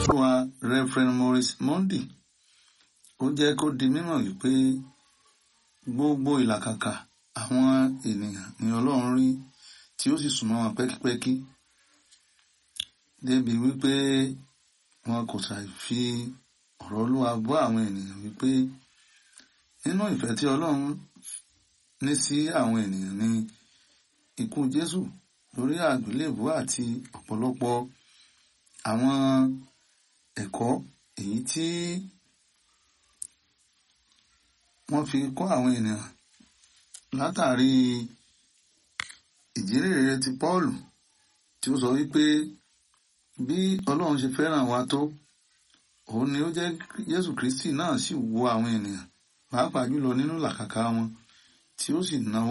Olúwa Reverend Maurice Monday ó jẹ́ kó di mímọ̀ wípé gbogbo ìlàkàkà àwọn ènìyàn ni Ọlọ́run rí tí ó sì súnmọ́ wọn pẹ́kípẹ́kí débi wípé wọn kò ṣàì fi ọ̀rọ̀ Olúwa bọ́ àwọn ènìyàn wípé nínú ìfẹ́ tí Ọlọ́run ní sí àwọn ènìyàn ni ikú Jésù lórí àgbélébùú àti ọ̀pọ̀lọpọ̀ àwọn ẹ̀kọ́ èyí tí wọ́n fi kọ́ àwọn ènìyàn látàrí ìjírèrè ti Pọ́ọ̀lù tí ó sọ wípé bí Ọlọ́run ṣe fẹ́ràn wa tó, òun ni ó jẹ́ Jésù Kristi náà sì wo àwọn ènìyàn pàápàá jùlọ nínú làkàkà wọn tí ó sì náwó.